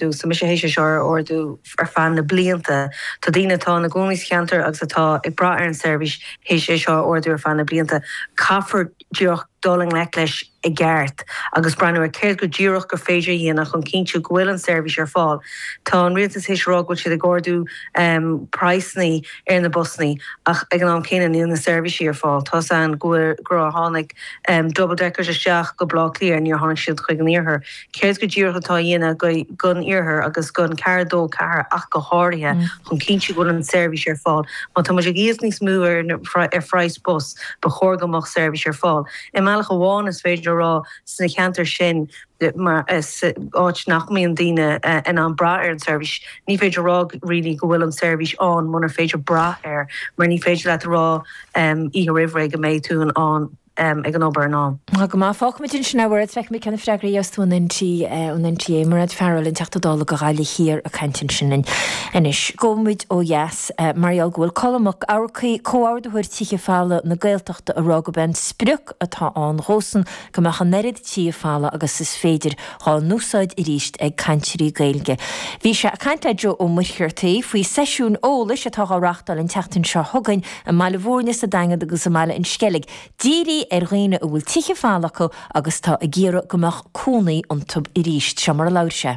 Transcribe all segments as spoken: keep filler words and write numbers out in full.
So mise théis é seo a ardú ar feadh na blianta. Tá daoine atá ina gcónaí sa cheantar agus atá ag brath ar an seirbhís théis é seo a ardú ar feadh na blianta. Caithfear díreach dul i ngleic leis i gceart agus breathnú ar céard go díreach gur féidir a dhéanamh chun cinntiú go bhfuil an seirbhís ar fáil. Tá an rialtas théis rá go bhfuil siad ag ardú um, praghsanna ar na busanna ach ag an am céanna níl na seirbhísí ar fáil. Tá an go gur tháinig um, double deckers isteach go Baile Átha Cliath níor tháinig siad chuig an iarthar. Céard go díreach atá dhéanamh go gon iarthar agus gon ceathair dó ceathair ach go háirithe mm. chun cinntiú go bhfuil an seirbhís ar fáil. Má tá ag íoc níos mó ar ar phraghas bus ba chóir go mbeadh seirbhís ar fáil. I mbealach amháin is féidir rá sna ceantair sin mar is áit nach mbíonn daoine in ann brath ar an seirbhís. Ní féidir rá really go bhfuil an seirbhís ann munar féidir brath air, mar ní féidir leat rá um, oíche roimh ré go mbeidh tú an an um, ag an obair ná. Go má fágfaimid sin a feicfimid cén freagra a tú an an N T A Mairéad Farrell an Teachta Dála do Ghaillimh Thiar ag caint sin anois. Gabhfaimid ó dheas mar go bhfuil Colm Mac Eachmharcaigh comhordaitheoir tithe folmha na Gaeltachta ag rá gurb é an sprioc atá ann dósan go mbeadh an oiread tithe folmha agus is féidir á n-úsáid arís ag cainteoirí Gaeilge. Bhí sé ag caint le Joe Ó Muircheartaigh faoi seisiún eolais atá á reáchtáil an tseachtain seo chugainn i mBaile Bhúirne sa Daingean agus i mBaile an Sceilg. Dírithe ar dhaoine a bhfuil tithe folmha acu agus tá ag iarraidh go mbeadh cónaí iontu arís seo mar a labhair sé.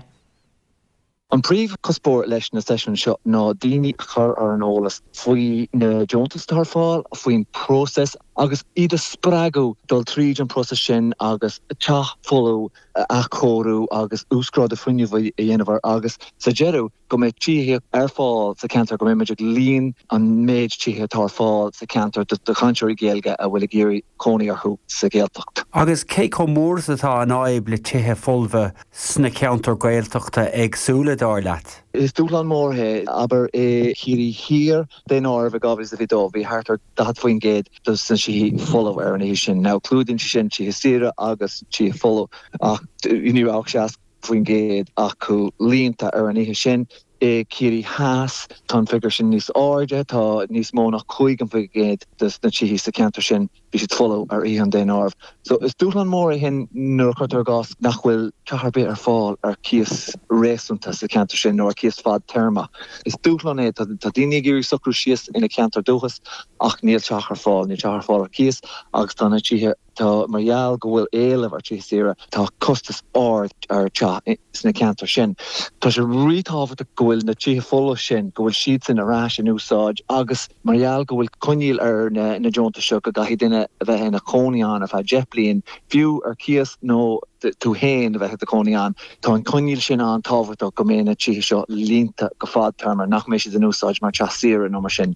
An príomhchuspóir leis na seisiúin seo ná daoine a chur ar an eolas faoi na deontais atá ar fáil, faoin próiseas agus iad a spreagadh dul tríd an próiseas sin agus teach folamh a athchóiriú agus uasghrádú fuinnimh a dhéanamh agus sa deireadh go mbeidh tithe ar fáil sa cheantar go mbeidh líon an méid tithe atá ar fáil sa cheantar do chainteoirí Gaeilge a bhfuil ag iarraidh cónaí orthu sa Ghaeltacht. Agus cé chomh mór atá an fhadhb le tithe folmha sna ceantair Ghaeltachta éagsúla dar leat. Is dúshlán mór é abair i Ciarraí Thiar daonáireamh dhá mhíle fiche dó bhí thart ar daichead faoin gcéad dos na tithe folamh ar an oíche sin. Now clúdaíonn sé sin tithe saoire agus tithe folamh ach ní raibh seasca faoin gcéad acu líonta ar an oíche sin. I Ciarraí Theas tá an figiúr sin níos airde tá níos mó ná caoga faoin gcéad dos na tithe sa cheantar sin bhí siad folamh ar oíche an daonáirimh. So is dúshlán mór é sin nuair a chuirtear i gcás nach bhfuil teach ar bith ar fáil ar cíos réasúnta sa cheantar sin nó ar cíos fadtéarma. Is dúshlán é tá daoine ag iarraidh socrú síos ina ceantar dúchais ach níl teach ar fáil, níl teach ar fáil ar cíos agus tá na tithe tá mar gheall go bhfuil éileamh ar tithe saoire tá costas ard ar teach sna ceantar sin. Tá sé ríthábhachtach go bhfuil na tithe folamh sin go bhfuil siad sin ar ais in úsáid agus mar gheall go bhfuil coinníoll ar na, na deontais seo go gcaithfidh duine a bheith ina chónaí ann ar feadh deich bliain fiú ar cíos nó tú féin a bheith i do chónaí ann. Tá an coinníoll sin an-tábhachtach go mbeidh na tithe seo líonta go fadtéarma nach mbeidh siad in úsáid mar teach saoire nó mar sin.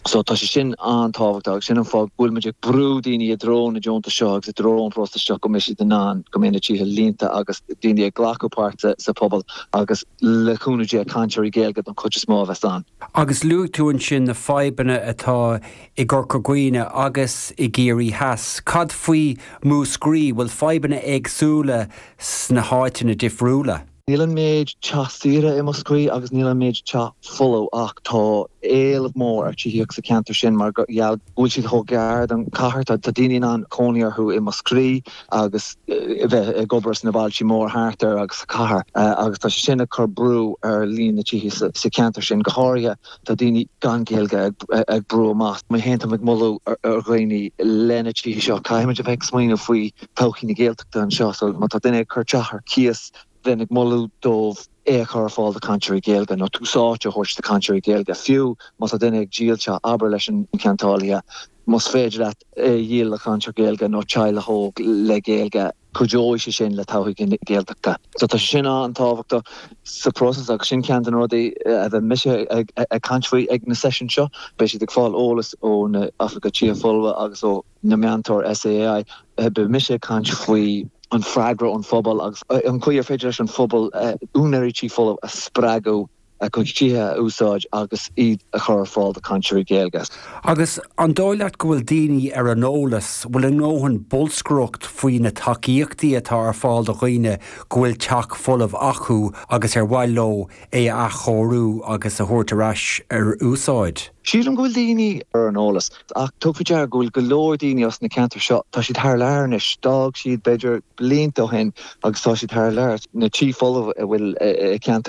So tá sé sin an-tábhachtach agus sin an fáth go bhfuil muid ag brú daoine i dtreo na deontais seo agus i dtreo an próiseas seo go mbeidh siad in ann go mbeidh na tithe líonta agus daoine ag glacadh páirt sa pobal agus le cúnamh Dé cainteoirí Gaeilge don chuid is mó a bheas ann. Agus luaigh tú ansin na fadhbanna atá i gCorca Dhuibhne agus i gCiarraí Theas. Cad faoi Mhúscraí bhfuil fadhbanna éagsúla sna háiteanna difriúla. Níl an méid teach saoire i Múscraí agus níl an méid teach folamh ach tá éileamh mór ar tithíocht sa cheantar sin mar gheall go bhfuil siad chomh gar don chathair tá daoine in ann cónaí orthu i Múscraí agus bheith ag obair sna bailte mór thart air agus sa chathair agus tá sé sin ag cur brú ar líon na tithe sa cheantar sin go háirithe tá daoine gan Gaeilge ag brú amach. Mé féin ag moladh ar dhaoine lena tithe seo caithfimid a bheith ag smaoineamh faoi todhchaí na Gaeltachta anseo so má tá duine ag cur teach ar cíos bheinn ag moladh dóibh é a chur ar fáil do chainteoirí Gaeilge nó tús áite a thabhairt do chainteoirí Gaeilge fiú má tá duine ag díol teach abair leis an ceantálaí más féidir leat é a dhíol le cainteoir Gaeilge nó teaghlach óg le Gaeilge cuideoidh sé sin le todhchaí na Gaeltachta. So tá sé sin an-tábhachtach sa próiseas agus sin ceann de na rudaí a bheidh mise ag ag caint faoi ag na seisiúin seo, beidh siad ag fáil eolas ó na oifigigh tithe folmha agus ó na meantóir S A A I beidh mise ag caint faoi an freagra ón phobal agus an chaoi ar féidir leis an phobal úinéirí tí folamh a spreagadh a gcuid tithe a úsáid agus iad a chur ar fáil do chainteoirí Gaeilge. Agus an dóigh leat go bhfuil daoine ar an eolas, bhfuil a ndóthain bolscaireacht faoi na tacaíochtaí atá ar fáil do dhaoine go bhfuil teach folamh acu agus ar mhaith leo é a athchóiriú agus a thabhairt ar ais ar úsáid. Sílim go bhfuil daoine ar an eolas ach tabhair faoi deara go bhfuil go leor daoine as na ceantair seo tá siad thar lear anois d'fhág siad b'fhéidir blianta ó shin agus tá siad thar lear na tithe folamh a bhfuil i ceantar